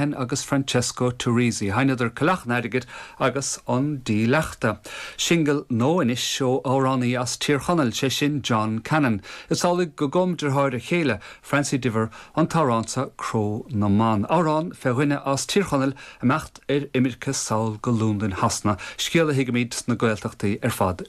Lenihan agus Francesco Turrisi. Sheinneadar Coileach an Airgid agus An Dílleachta. Singil nua anois ó amhránaí as Tír Chonaill, sé sin John Cannon. Is amhlaidh go gcum deartháir a chéile, Francie Diver, an t-amhrán seo Cró na mBan. Amhrán fé dhuine as Tír Chonaill imeacht ar imirce sall go Londain Shasana, scéal a thuigimid sna Gaeltachtaí ar fad.